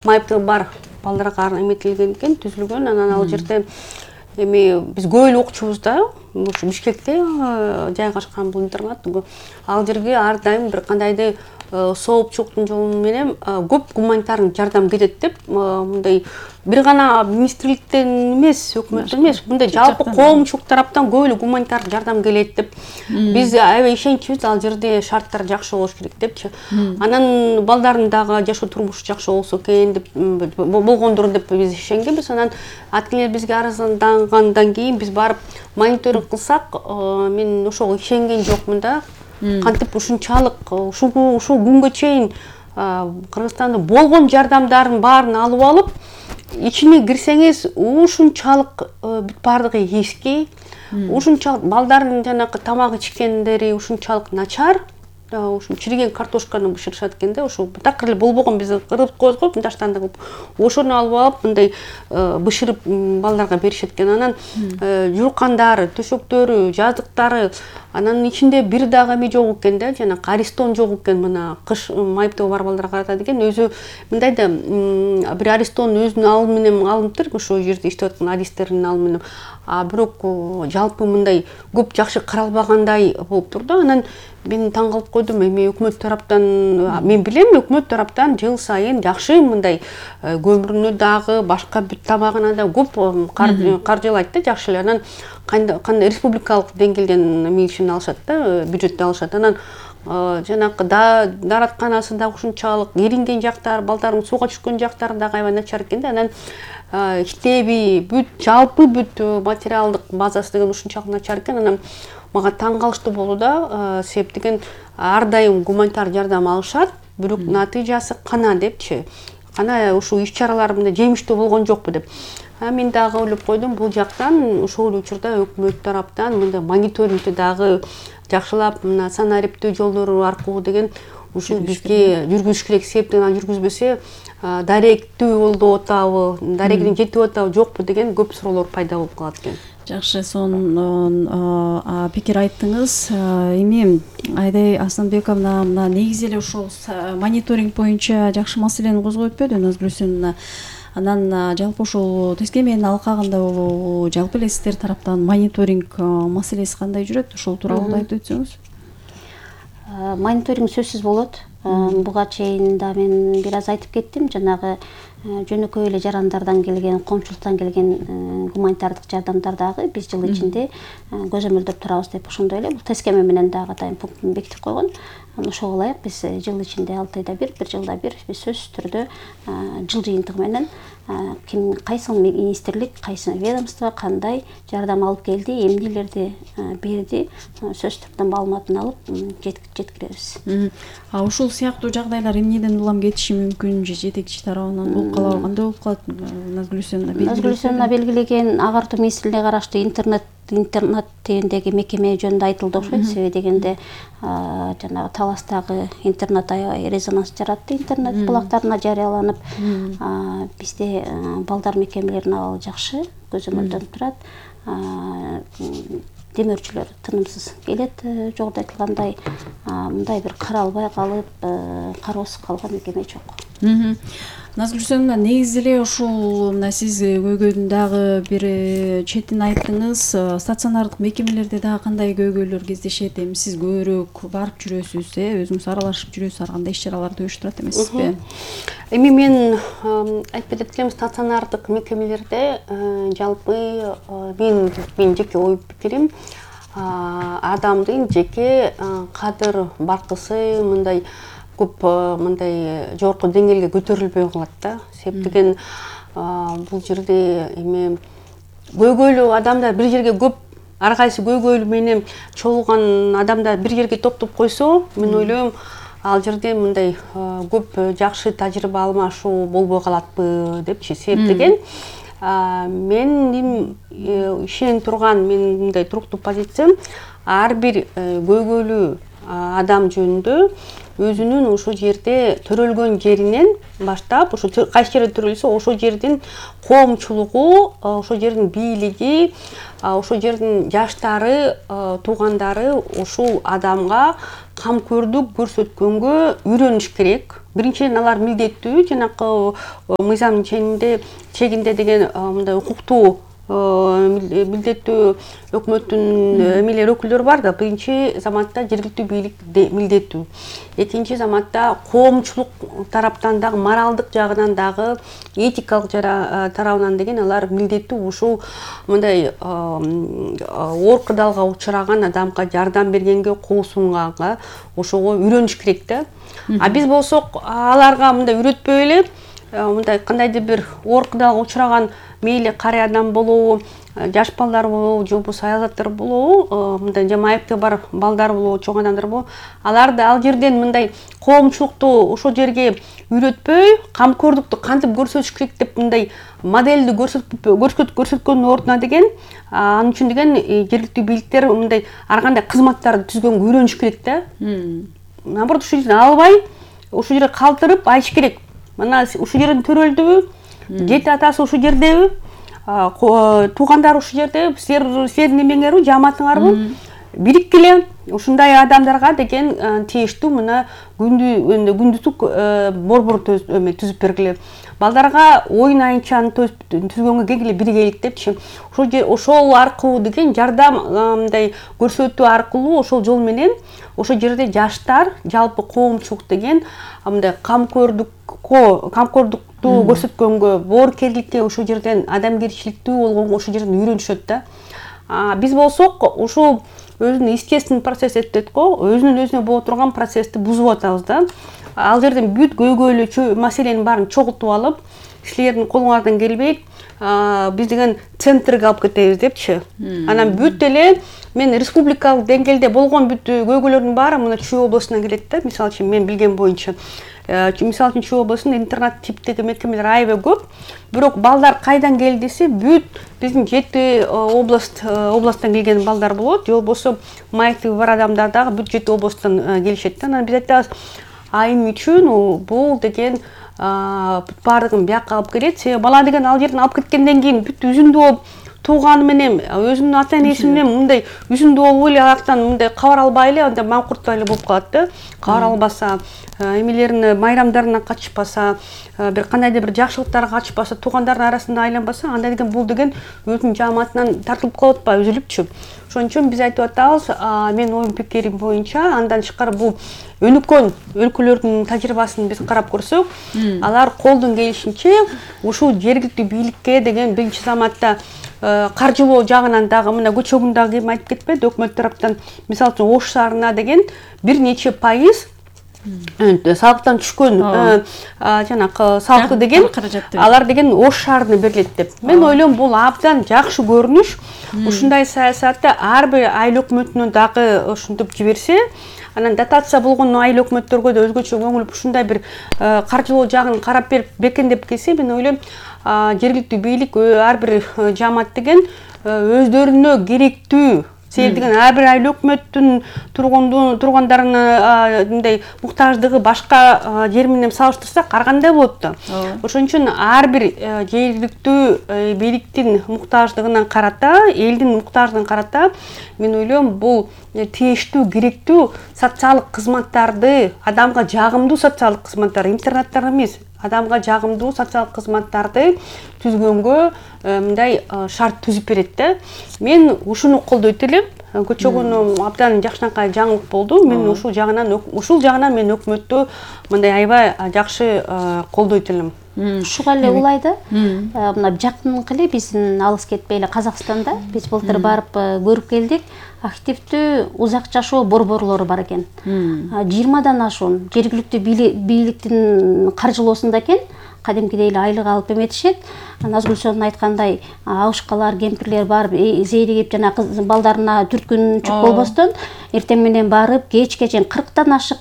Майыптыгы бар балдарга эметилген экен, түзүлгөн. Анан ал жерде эми биз көп эле окучубуз да, ушу Бишкекте жайгашкан бул интернат. Ал жерге ар дайым бир кандайдыр соопчулуктун жолу менен көп гуманитардык жардам кетет деп, мындай бир гана министрликтен эмес, өкмөттөн эмес, мындай жалпы коомчулук тараптан көп эле гуманитардык жардам келет деп. Биз аябай ишеничибиз, ал жерде шарттар жакшы болуш керек депчи. Анан балдардын дагы жашоо турмушу жакшы болсо экен деп болгондур деп биз ишенгенбиз. Анан аткелер бизге арыздангандан кийин биз барып мониторинг кылсак, мен ошого ишенген жокмун да. Кантип ушунчалык ушул күнгө чейин Кыргызстанда болгон жардамдардын баарын алып алып, ичине кирсеңиз ушунчалык бүт бардыгы эски, ушунчалык балдардын жанагы тамак ичкендери ушунчалык начар. Ушул чириген картошканы бышырышат экен да, ошо такыр эле болбогон, биз кырып коебуз го мындаштан да ошону алып алып мындай бышырып балдарга беришет экен. Анан жууркандары, төшөктөрү, жазыктары, анан ичинде бир дагы эме жок экен да, жана аристон жок экен. Мына кыш майыптыгы бар балдарга карата деген өзү мындай да бир аристон өзүнүн алымы менен алыныптыр, ошол жерде иштеп аткан адистердин алымы менен. Бирок жалпы мындай көп жакшы каралбагандай болуптур да. Анан мен таң калып койдум, эми өкмөт тараптан, мен билем, өкмөт тараптан жыл сайын жакшы мындай көмүрүнө дагы, башка бүт тамагына да көп каржылайт да, жакшы эле. Анан кандай республикалык деңгээлден эмесин алышат да, бюджетти алышат. Анан жанакы дааратканасы да ушунчалык эринген жактар, балдардын сууга түшкөн жактары дагы аябай начар экен да. Анан иштеби, жалпы бүт материалдык базасы деген ушунчалык начар экен. Анан мага таң калыштуу болду да, себеп деген ар дайым гуманитар жардам алышат, бирок натыйжасы кана депчи. Кана ушул иш-чаралар мындай жемиштүү болгон жокпу деп. Мен дагы ойлоп койдум, бул жактан ошол учурда өкмөт тараптан мындай мониторингти дагы жакшылап, мына санариптүү жолдору аркылуу деген ушул бизге жүргүзүш керек. Себеп деген жүргүзбөсө даректүү болуп атабы, дарегине жетип атабы, жокпу деген көп суроолор пайда болуп калат экен. Жакшы, сонун пикир айттыңыз. Эми Айдай Асанбековна, мына негизи эле ошол мониторинг боюнча жакшы маселени козгоп өтпөдү Назгүлсүн. Анан жалпы ошол тескеменин алкагында болобу, жалпы эле сиздер тараптан мониторинг маселеси кандай жүрөт? Ошол тууралуу айтып өтсөңүз. Мониторинг сөзсүз болот. Буга чейин да мен бир аз айтып кеттим, жанагы жөнөкөй эле жарандардан келген, коомчулуктан келген гуманитардык жардамдар дагы биз жыл ичинде көзөмөлдөп турабыз деп ошондой эле бул тескеме менен дагы атайын пунктун бекитип койгон. Ошого ылайык биз жыл ичинде 6 айда бир жылда бир биз сөзсүз түрдө жыл жыйынтыгы менен ким кайсы министрлик, кайсы ведомство кандай жардам алып келди, эмнелерди берди, сөзсүз түрдө маалыматын алып жеткиребиз. Ушул сыяктуу жагдайлар эмнеден улам кетиши мүмкүн, же жетекчи тарабынан болуп калабы, кандай болуп калат? Назгүлсүн белгилеген агартуу министрлигине караштуу интернат тегиндеги мекеме жөнүндө айтылды окшойт. Себеби дегенде жанагы Таластагы интернат аябай резонанс жаратты, интернет булактарына жарыяланып. Бизде балдар мекемелеринин абалы жакшы, көзөмөлдөнүп турат. Демөөрчүлөр тынымсыз келет, жогоруда айтылгандай, мындай бир каралбай калып, кароосуз калган мекеме жок. Назгүлсүн, негизи эле ушул мына сиз көйгөйдүн дагы бир четин айттыңыз. Стационардык мекемелерде дагы кандай көйгөйлөр кездешет? Эми сиз көбүрөөк барып жүрөсүз, өзүңүз аралашып жүрөсүз, ар кандай иш-чараларды уюштурат эмессизби? Эми мен айтып кетем, стационардык мекемелерде жалпы мен жеке ой пикирим, адамдын жеке кадыр баркысы мындай көп мындай жогорку деңгээлге көтөрүлбөй калат да. Себеп деген бул жерде эми көйгөйлүү адамдар бир жерге көп, ар кайсы көйгөйлүү менен чогулган адамдар бир жерге топтоп койсо, мен ойлойм, ал жерде мындай көп жакшы тажрыйба алмашуу болбой калатпы депчи. Себеп деген менин ишенип турган, менин мындай туруктуу позициям, ар бир көйгөйлүү адам жөнүндө өзүнүн ошол жерде төрөлгөн жеринен баштап, ошо кайсы жерде төрөлсө ошол жердин коомчулугу, ошол жердин бийлиги, ошол жердин жаштары, туугандары ушул адамга камкөрдүк көрсөткөнгө үйрөнүш керек. Биринчиден алар милдеттүү, жанакы мыйзамдын чегинде деген мындай укуктуу милдеттүү өкмөттүн эмелер өкүлдөрү бар да. Биринчи заматта жергиликтүү бийлик милдеттүү. Экинчи заматта коомчулук тараптан дагы, моралдык жагынан дагы, этикалык тарабынан деген алар милдеттүү ушул мындай оор кырдаалга учураган адамга жардам бергенге, кол сунганга ошого үйрөнүш керек да. А биз болсок аларга мындай үйрөтпөй эле, мындай кандайдыр бир оор кырдаалга учураган мейли карый адам болобу, жаш балдар болобу, же болбосо аял заттар болобу, мындай же майыпты бар балдар болобу, чоң адамдар болобу, аларды ал жерден мындай коомчулукту ошол жерге үйрөтпөй, камкордукту кантип көрсөтүш керек деп мындай модельди көрсөткөндүн ордуна деген, анын үчүн деген жергиликтүү бийликтер мындай ар кандай кызматтарды түзгөнгө үйрөнүш керек да. Наоборот, ушул жерден албай, ушул жерге калтырып айтыш керек. Мына ушул жерден төрөлдүбү, жети атасы ушул жердеби, туугандары ушул жерде, силердин эмеңерби, жамаатыңарбы, бириккиле ушундай адамдарга деген тийиштүү мына күндүзүк борбор түзүп бергиле. Балдарга оюн айынчаны түзгөнгө келгиле биргелик депчи. Ошол аркылуу деген жардам мындай көрсөтүү аркылуу ошол жол менен ошол жерде жаштар, жалпы коомчулук деген мындай камкордукту көрсөткөнгө, боорукерликке ошол жерден адамгерчиликтүү болгонго ошол жерден үйрөнүшөт да. Биз болсок ушул өзүнүн естественный процесс өтөт го, өзүнүн өзүнө боло турган процессти бузуп атабыз да. Ал жерден бүт көйгөйлүү маселенин баарын чогултуп алып, силердин колуңардан келбейт, биз деген центрге алып кетебиз депчи. Анан бүт эле мен республикалык деңгээлде болгон бүт көйгөйлөрдүн баары мына Чүй областынан келет да. Мисалы үчүн мен билген боюнча, мисалы үчүн Чүй областында интернат типтеги мекемелер аябай көп. Бирок балдар кайдан келди десе, бүт биздин 7 областтан келген балдар болот. Же болбосо майыптыгы бар адамдар дагы бүт 7 областтан келишет да. Анан биз айтабыз, айым үчүн бул деген баардыгын бияка алып келет. Себеби бала деген ал жерден алып кеткенден кийин бүт үзүндүү болуп тууганы менен, өзүнүн ата энеси менен мындай үзүндүү болуп эле аяктан мындай кабар албай эле, анда маңкурттай эле болуп калат да. Кабар албаса, эмелерин майрамдарына катышпаса, бир кандайдыр бир жакшылыктарга катышпаса, туугандардын арасында айланбаса, анда деген бул деген өзүнүн жамаатынан тартылып калып атпайбы, үзүлүпчү. Ошон үчүн биз айтып атабыз, мен оюм пикирим боюнча, андан тышкары бул өнүккөн өлкөлөрдүн тажрыйбасын биз карап көрсөк, алар колдон келишинче ушул жергиликтүү бийликке деген биринчи заматта каржылоо жагынан дагы мына көчөгүн дагы ким айтып кетпеди, өкмөт тараптан, мисалы үчүн Ош шаарына деген бир нече пайыз салыктан түшкөн жанакы салыкты деген алар деген Ош шаарына берилет деп. Мен ойлойм, бул абдан жакшы көрүнүш. Ушундай саясатты ар бир айыл өкмөтүнө дагы ушинтип жиберсе, анан дотация болгон айыл өкмөттөргө да өзгөчө көңүл ушундай бир каржылоо жагын карап берип бекемдеп келсе, мен ойлойм, жергиликтүү бийлик ар бир жамаат деген өздөрүнө керектүү, себеби деген ар бир айыл өкмөттүн тургандарынын мындай муктаждыгы башка жер менен салыштырсак ар кандай болот да. Ошон үчүн ар бир жергиликтүү бийликтин муктаждыгынан карата, элдин муктаждыгын карата, мен ойлойм, бул тийиштүү, керектүү социалдык кызматтарды, адамга жагымдуу социалдык кызматтар, интернаттар эмес, адамга жагымдуу социалдык кызматтарды түзгөнгө мындай шарт түзүп берет да. Мен ушуну колдойт элем. Көчөгүн абдан жакшынакай жаңылык болду. Мен ушул жагынан мен өкмөттү мындай аябай жакшы колдойт элем. Ушуга эле улайды. Мына жакынкы эле биздин алыс кетпей эле Казакстанда биз былтыр барып көрүп келдик. Активдүү узак жашоо борборлору бар экен. 20дан ашуун жергиликтүү бийликтин каржылоосунда экен. Кадимкидей эле айлык алып эметишет. Назгүлчөнүн айткандай, абышкалар, кемпирлер барып зээригип жана балдарына түрткүнчүк болбостон, эртең менен барып, кечке чейин 40тан ашык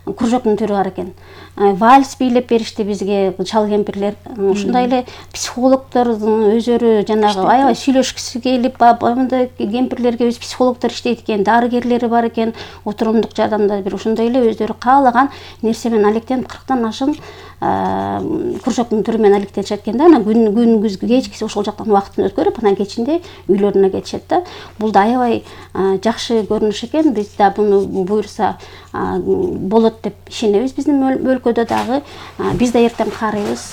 кружоктун түрү бар экен. Вальс бийлеп беришти бизге чал кемпирлер. Ушундай эле психологдор өздөрү жанагы аябай сүйлөшкүсү келип, мындай кемпирлерге өз психологдор иштейт экен, дарыгерлери бар экен, отурумдук жардамда бир ошондой эле өздөрү каалаган нерсе менен алектенип 40тан ашын кружоктун түрү менен алектенишет экен да. Анан күндүз кечкиси ошол жактан убактын өткөрүп, анан кечинде үйлөрүнө кетишет да. Бул да аябай жакшы көрүнүш экен. Биз да буну буюрса болот деп ишенебиз. Биздин өлкөдө дагы биз да эртең карыйбыз.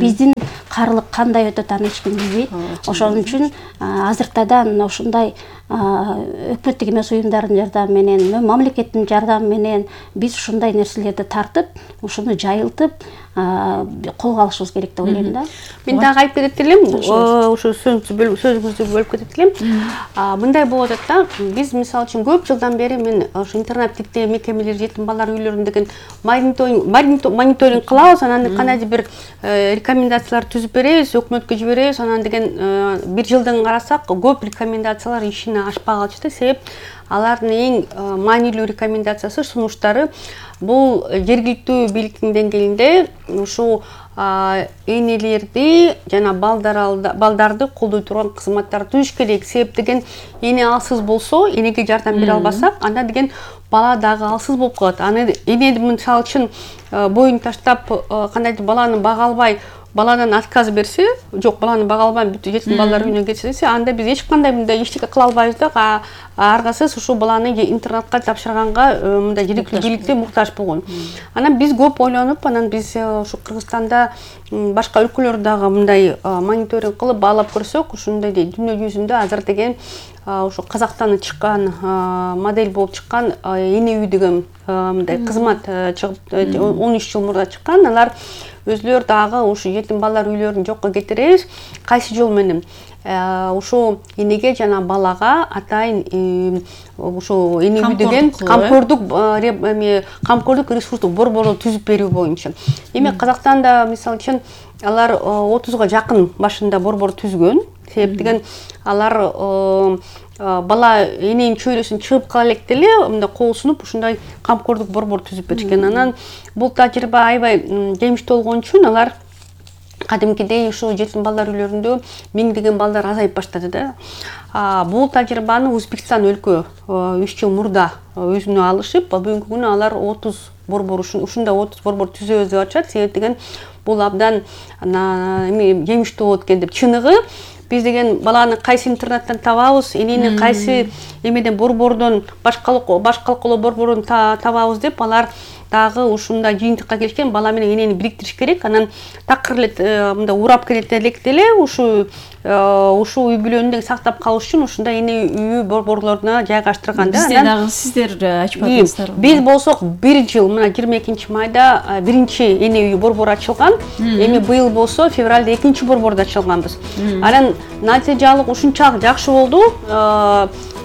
Биздин карылык кандай өтөт аны эч ким билбейт. Ошон үчүн азыртадан ошундай өкмөттүк эмес уюмдардын жардамы менен, мамлекеттин жардамы менен биз ушундай нерселерди тартып, ушуну жайылтып колго алышыбыз керек деп ойлойм да. Мен дагы айтып кетет элем, ошо сөзүңүздү бөлүп кетет элем. Мындай болуп атат да, биз мисалы үчүн көп жылдан бери мен ошо интернеттик мекемелер, жетим балдар үйлөрүн деген мониторинг кылабыз, анан кандайдыр бир рекомендациялар түзүп беребиз, өкмөткө жиберебиз, анан деген бир жылдан карасак көп рекомендациялар ишине ашпай калышты. Себеп алардын эң маанилүү рекомендациясы, сунуштары бул жергиликтүү бийликтин деңгээлинде ушул энелерди жана балдарды колдой турган кызматтарды түзүш керек. Себеп деген эне алсыз болсо, энеге жардам бере албасак, анда деген бала дагы алсыз болуп калат. Аны эне мисалы үчүн боюн таштап кандайдыр баланы бага албай, баладан отказ берсе, жок баланы бага албайм, бүт жетим балдар үйүнө кетсе десе, анда биз эч кандай мындай эчтеке кыла албайбыз да. Аргасыз ушул баланы интернатка тапшырганга мындай жергиликтүү бийликте муктаж болгон. Анан биз көп ойлонуп, анан биз ушу Кыргызстанда башка өлкөлөрдө дагы мындай мониторинг кылып баалап көрсөк, ушундай дүйнө жүзүндө азыр деген ошо Казактан чыккан модель болуп чыккан эне үй деген мындай кызмат чыгып 13 жыл мурда чыккан. Алар өзлөр дагы ушу жетим балдар үйлөрүн жокко кетиребиз. Кайсы жол менен? Ушул энеге жана балага атайын ушул эне үй деген камкордук ресурстук борборду түзүп берүү боюнча. Эми Казакстанда мисалы үчүн алар 30га жакын башында борбор түзгөн. Себеп деген алар бала эненин чөйрөсүн чыгып кала электе эле мындай кол сунуп ушундай камкордук борбор түзүп беришкен. Анан бул тажрыйба аябай жемиштүү болгон үчүн алар кадимкидей ушул жетим балдар үйлөрүндө миңдеген балдар азайып баштады да. Бул тажрыйбаны Өзбекстан өлкө 3 жыл мурда өзүнө алышып, бүгүнкү күнү алар 30 борбор ушундай 30 борбор түзөбүз деп атышат. Себеп деген бул абдан жемиштүү болот экен деп. Чыныгы биз деген баланы кайсы интернаттан табабыз, энени кайсы эмеден борбордон башкалкылоо борбордон табабыз деп алар дагы ушундай жыйынтыкка келишкен. Бала менен энени бириктириш керек. Анан такыр эле мындай урап келет электе эле ушул үй бүлөнү сактап калыш үчүн ушундай эне үйү борборлоруна жайгаштырган да. Бизде дагы сиздер ачып атасыздар. Биз болсок бир жыл мына 22-майда биринчи эне үйү борбору ачылган. Эми быйыл болсо февралда экинчи борборду ачылганбыз. Анан натыйжалык ушунчалык жакшы болду.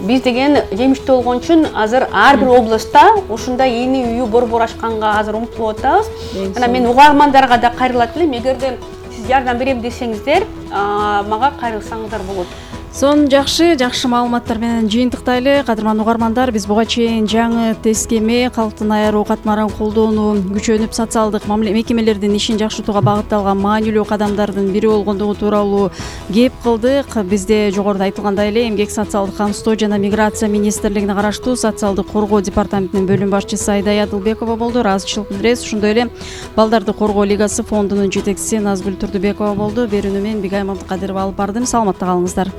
Биз деген жемиштүү болгон үчүн азыр ар бир областта ушундай эне үйү борбор ачканга азыр умтулуп атабыз. Анан мен угармандарга да кайрылат элем, эгерде сиз жардам берем десеңиздер, мага кайрылсаңыздар болот. Сон жакшы маалыматтар менен жыйынтыктайлы. Кадырман угармандар, биз буга чейин жаңы тескеме, калктын аяруу катмарын колдоону күчөнүп, социалдык мекемелердин ишин жакшыртууга багытталган маанилүү кадамдардын бири болгондугу тууралуу кеп кылдык. Бизде жогоруда айтылгандай эле Эмгек социалдык камсыздоо жана миграция министрлигине караштуу социалдык коргоо департаментинин бөлүм башчысы Айдай Адылбекова болду. Ыраазычылык билдиребиз. Ошондой эле Балдарды коргоо лигасы фондунун жетекчиси Назгүл Турдубекова болду. Берүүнү мен Бигайым Абдыкадырова алып бардым. Саламатта калыңыздар.